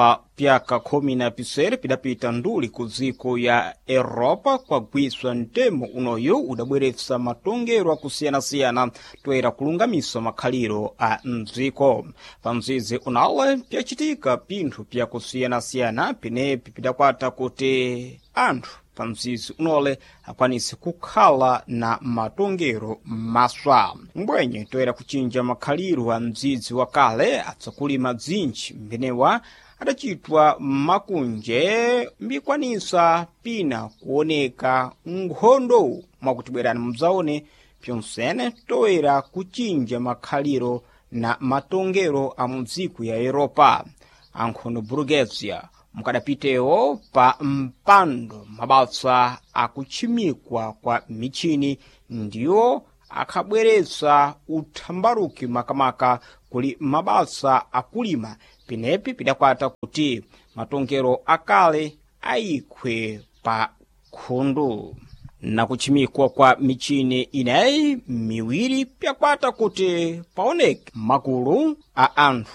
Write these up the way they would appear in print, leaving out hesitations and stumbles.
Pa pyaka 17 pidapita nduli ku dziko ya Europa kwagwiswa mtemo unoyu udabweretsa matongero akusiyana-siyana toera kulungamisa makhaliro a mdziko. Pa mzizi unale pyacitika pinthu pyakusiyana-siyana pinepi pidakwata kuti anthu pa mzizi unole akwanise kukhala na matongero maswa. Mbwenye toera kucinja makhaliro a mdzidzi wa kale atsakulima bzintchi mbenewa adacitwa makunje mbikwanisa pina kuoneka nkhondo mwakuti bwerani mudzaone pyonsene toera kucinja makhaliro na matongero a mudziko ya Europa. Ankhondo Burguesia mukadapitewo pa mpando mabasa akutchimikwa kwa michini ndiwo akhabweretsa uthambaruki makamaka kuli mabasa akulima pinepi pidakwata kuti matongero akale ayikhwe pa khundu. Nakutchimikwa kwa michini ineyi miwiri pyakwata kuti paoneke makulu a anthu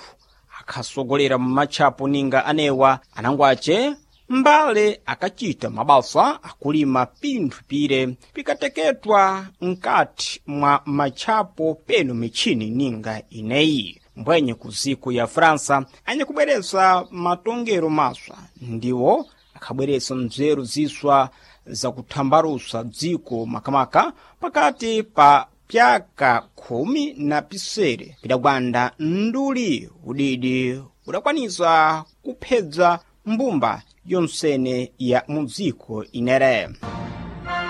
akhasogolera mmatchapo ninga anewa anangwace mbale akacita mabasa akulima pinthu pire pikateketwa nkati mwa matchapo peno michini ninga ineyi. Mbwenye ku dziko ya França anyakubweretsa matongero maswa ndiwo akhabweretsa mzeru ziswa zakuthambalusa dziko makamaka pakati pa pyaka 17 pidagwanda nduli udidi udakwanisa kuphedza mbumba yonsene ya mudziko inere.